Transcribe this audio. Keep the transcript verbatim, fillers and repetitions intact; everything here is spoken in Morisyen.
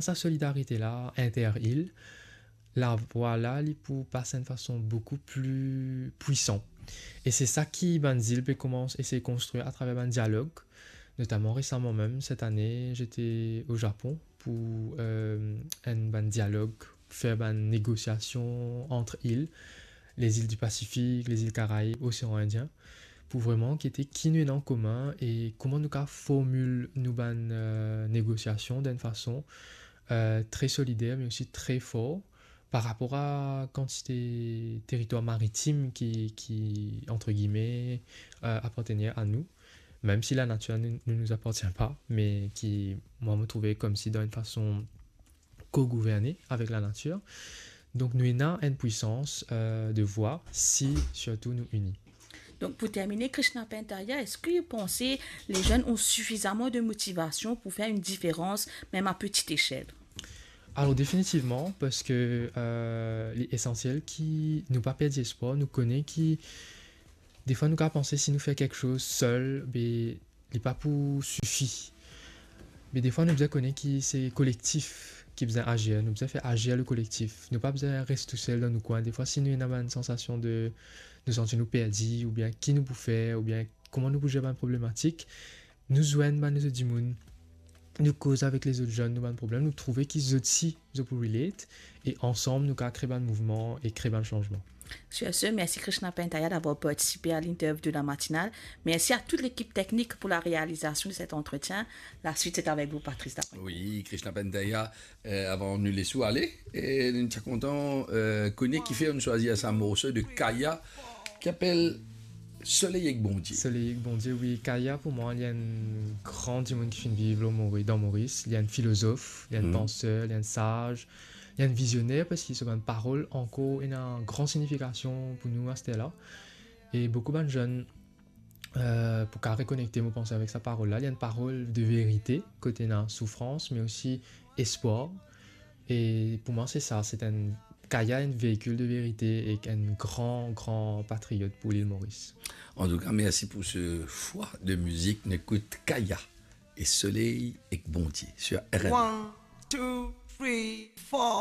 sa solidarite la inter-il, lavwa la, li pou pas enn fason boukou pli pwisan. E se sa ki bann zil pe koumans esey konstrir atraver bann dialog. Notaman resaman mem, set ane, zete o Zapon pou, eh, enn bann dialog, fer bann negosiasion ant il, lezil di Pasifik, lezil Karaib, Osean Indien, pou vreman gete ki nou ena an komin e kouma nou kapav formil nou bann, eh, negosiasion dan enn fason, eh, tre solider, me osi tre for par rapor a kantite teritwar maritim ki, ki, antre gime, eh, apartenir a nou. Mem si lanatir ne, ne nous appartient pas, me ki, mwa, mo trouve koumsi dan enn fason kogouverne avek lanatir. Donk, nou ena enn pwisans, eh, de vwa si sirtou nou ini. Donc, pour terminer, Krishna Pantaya, est-ce que vous pensez les jeunes ont suffisamment de motivation pour faire une différence, même à petite échelle ? Alor, definitivman, parski, eh, li esansiel ki nou pa perdi espwar, nou kone ki defwa nou kapav panse si nou fer kiksoz sel, be li pa pou sifi. Me defwa nou bizin kone ki se kolektif ki bizin azir, nou bizin fer azir le kolektif. Nou pa bizin res tousel dan nou kwin. Defwa si nou ena bann sansasion de, nou santi nou perdi, oubien ki nou pou fer, oubien kouma nou pou zer bann problematik, nou zwenn bann lezot dimoun, nou koz avek lezot zenn nou bann problem, nou trouve ki zot si zot pou relate, e ansam nou kapav kre bann mouvman e kre bann sanzman. Sur ce, merci Krishna Pantaya d'avoir participé à l'interview de la matinale. Merci à toute l'équipe technique pour la réalisation de cet entretien. La suite, c'est avec vous, Patrice Dapin. Wi, Krishna Pantaya, eh, avan nou les ou ale, e nou ti kontan, eh, kone kifer nou swazir sa morso de Kaya ki apel Soley ek Bondie. Soley ek Bondie, wi. Kaya, pou mwa, li enn gran dimoun ki finn viv lor Mori-, dan Moris. Li enn filozof, li enn panser, li enn saz, li enn vizioner, parski so bann parol ankor ena gran signifikasion pou nou aster la. E boukou bann zenn, eh, pou kapav rekonekte, mo panse, avek sa parol la. Li enn parol de verite, kot ena soufrans, me osi espwar. E pou mwa, se sa, se enn, Kaya enn veikil de verite ek enn gran, gran patriot pou lil Moris. Antouka, mersi pou se fwa de mizik. Nou ekout Kaya e Soley ek Bondie sur R N. One, two, three, four.